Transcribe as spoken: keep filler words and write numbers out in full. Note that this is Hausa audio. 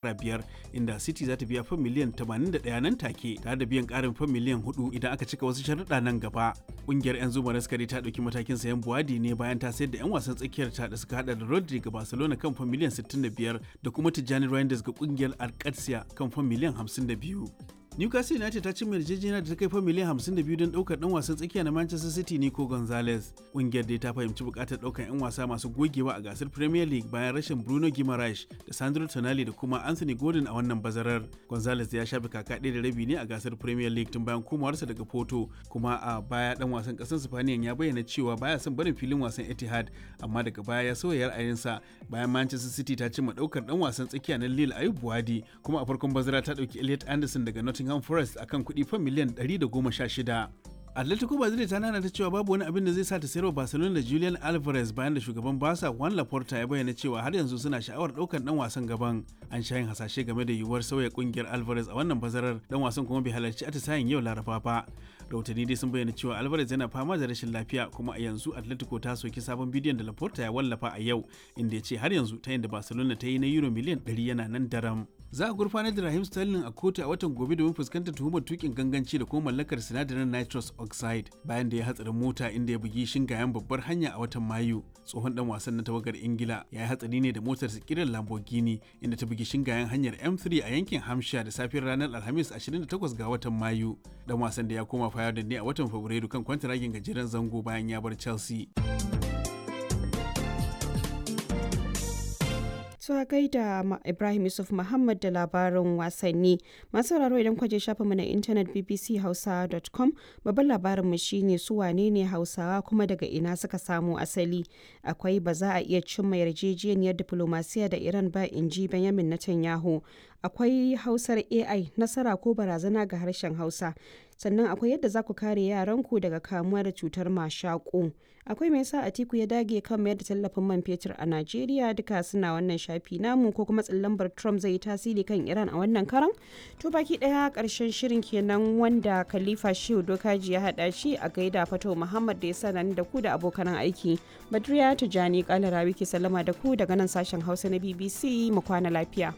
Biyar, inda City za ta biya fam miliyan tamanin da ɗaya nan take, tare da biyan karin fam miliyan huɗu idan aka cika wasu sharuɗa nan gaba. Ƙungiyar 'yan zuma raskari ta ɗauki matakin sayan Buwadi ne bayan ta sayar da 'yan wasan tsakiyar ta da suka hada da Rodri ga Barcelona kan fam miliyan sittin da biyar da kuma Tijjani Reinders ga ƙungiyar Alcatia kan fam miliyan hamsin da biyu. Newcastle United ta cimma yarjejeniya da ta kai fa miliyan hamsin da biyu don daukar dan wasan tsakiya na Manchester City Nico Gonzalez. Kungiyar dai ta fahimci bukatar daukar 'yan wasa masu gogewa a gasar Premier League bayan rashin Bruno Guimaraes da Sandro Tonali da kuma Anthony Gordon a wannan bazarar. Gonzalez ya shafe kaka ɗaya da rabi ne a gasar Premier League tun bayan komawarsa daga Porto, kuma a baya dan wasan ƙasar Spaniyan ya bayyana cewa baya son barin filin wasan Etihad, amma daga baya ya sauya ra'ayinsa bayan Manchester City ta cimma daukar dan wasan tsakiya na Lille Ayub Buwadi, kuma a farkon bazara ta dauki Elliot Anderson daga Nottingham Forest akan kuɗi fan miliyan ɗari da goma sha shida. Atletico Madrid ta nana ta cewa babu wani abin da zai sa ta sayarwa Barcelona da Julian Alvarez, bayan da shugaban Barca Juan Laporta ya bayyana cewa har yanzu suna sha'awar ɗaukar dan wasan gaban. An sha yin hasashe game da yiwuwar sauya kungiyar Alvarez a wannan bazarar, dan wasan kuma bai halarci atisayen yau Laraba ba. Rahotanni dai sun bayyana cewa Alvarez yana fama da rashin lafiya, kuma a yanzu Atletico ta soki sabon bidiyon da Laporta ya wallafa a yau, inda ya ce har yanzu ta yin da Barcelona ta yi na euro miliyan ɗari yana nan daram. Za a gurfanar da Raheem Sterling a kotu a watan gobe domin fuskantar tuhumar tukin ganganci da kuma mallakar sinadarin nitrous oxide, bayan da ya hatsarin mota inda ya bugi shingayen babbar hanya a watan Mayu. Tsohon dan wasan na tawagar Ingila ya yi hatsari ne da motar kiran Lamborghini, inda ta bugi shingayen hanyar M three a yankin Hampshire da safiyar ranar Alhamis ashirin da takwas ga watan Mayu. Dan wasan da ya koma Feyenoord ne a watan Fabrairu kan kwantaragin gajeren zango bayan ya bar Chelsea. To a gaida Ibrahim Yusuf Muhammad da labarin wasanni. Masu sauraro, idan kwaje shafinmu na intanet b b c hausa dot com, babban labarinmu shine su wane ne Hausawa kuma daga ina suka samo asali. Akwai ba za a iya cimma yarjejeniyar diplomasiya da Iran ba, in ji Benjamin Netanyahu. Akwai Hausar A I, nasara ko barazana ga harshen Hausa. Sannan akwai yadda za ku kare yaranku daga kamuwa da cutar mashaƙo. Akwai me yasa Atiku ya dage kan mayar da tallafin man fetur a Najeriya. Duka suna wannan shafi namu, ko kuma lambar Trump zai yi tasiri kan Iran a wannan karan. To, baki daya karshen shirin kenan, wanda Khalifa Shehu Dokaji ya hada shi. A gaida Fato Muhammad da ya sanar da ku da abokan aiki. Badriya Tijani Kalarawi ke sallama da ku daga nan sashen Hausa na B B C. Mu kwana lafiya.